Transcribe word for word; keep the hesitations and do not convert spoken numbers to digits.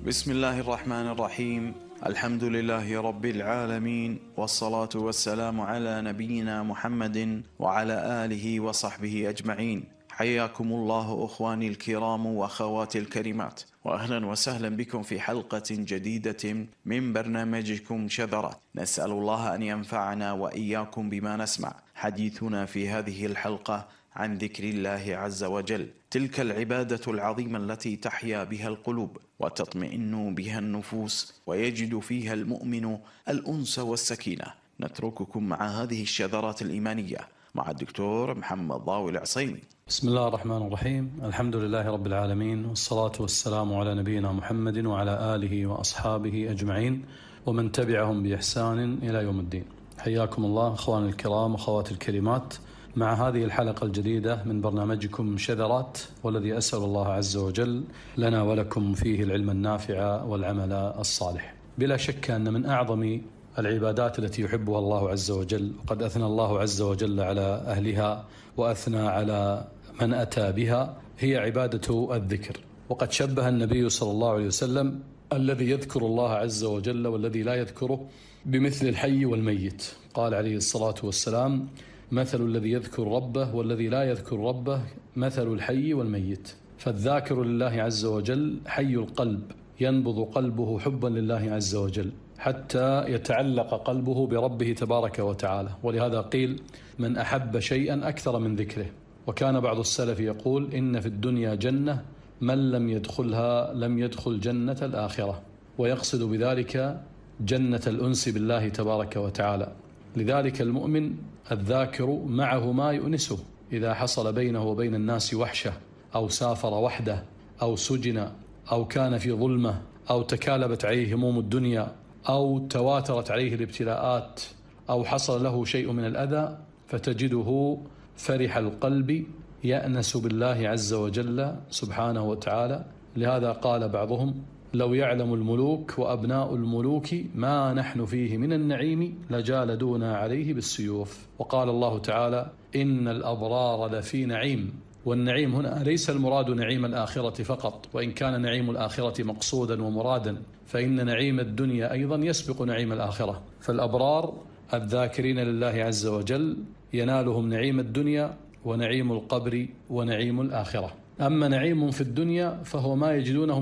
بسم الله الرحمن الرحيم. الحمد لله رب العالمين، والصلاة والسلام على نبينا محمد وعلى آله وصحبه أجمعين. حياكم الله أخواني الكرام وأخواتي الكريمات، وأهلا وسهلا بكم في حلقة جديدة من برنامجكم شذرات. نسأل الله أن ينفعنا وإياكم بما نسمع. حديثنا في هذه الحلقة عن ذكر الله عز وجل، تلك العبادة العظيمة التي تحيا بها القلوب وتطمئن بها النفوس ويجد فيها المؤمن الأنس والسكينة. نترككم مع هذه الشذرات الإيمانية مع الدكتور محمد ضاوي العصيمي. بسم الله الرحمن الرحيم. الحمد لله رب العالمين، والصلاة والسلام على نبينا محمد وعلى آله وأصحابه أجمعين ومن تبعهم بإحسان إلى يوم الدين. حياكم الله أخواني الكرام وأخواتي الكريمات مع هذه الحلقة الجديدة من برنامجكم شذرات، والذي أسأل الله عز وجل لنا ولكم فيه العلم النافع والعمل الصالح. بلا شك أن من أعظم العبادات التي يحبها الله عز وجل، وقد أثنى الله عز وجل على أهلها وأثنى على من أتى بها، هي عبادة الذكر. وقد شبه النبي صلى الله عليه وسلم الذي يذكر الله عز وجل والذي لا يذكره بمثل الحي والميت. قال عليه الصلاة والسلام: مثل الذي يذكر ربه والذي لا يذكر ربه مثل الحي والميت. فالذاكر لله عز وجل حي القلب، ينبض قلبه حبا لله عز وجل حتى يتعلق قلبه بربه تبارك وتعالى. ولهذا قيل: من أحب شيئا أكثر من ذكره. وكان بعض السلف يقول: إن في الدنيا جنة من لم يدخلها لم يدخل جنة الآخرة، ويقصد بذلك جنة الأنس بالله تبارك وتعالى. لذلك المؤمن الذاكر معه ما يؤنسه إذا حصل بينه وبين الناس وحشة، أو سافر وحده، أو سجن، أو كان في ظلمة، أو تكالبت عليه هموم الدنيا، أو تواترت عليه الابتلاءات، أو حصل له شيء من الأذى، فتجده فرح القلب يأنس بالله عز وجل سبحانه وتعالى. لهذا قال بعضهم: لو يعلم الملوك وأبناء الملوك ما نحن فيه من النعيم لجالدونا عليه بالسيوف. وقال الله تعالى: إن الأبرار لفي نعيم. والنعيم هنا ليس المراد نعيم الآخرة فقط، وإن كان نعيم الآخرة مقصودا ومرادا، فإن نعيم الدنيا أيضا يسبق نعيم الآخرة. فالأبرار الذاكرين لله عز وجل ينالهم نعيم الدنيا ونعيم القبر ونعيم الآخرة. أما نعيم في الدنيا فهو ما يجدونه من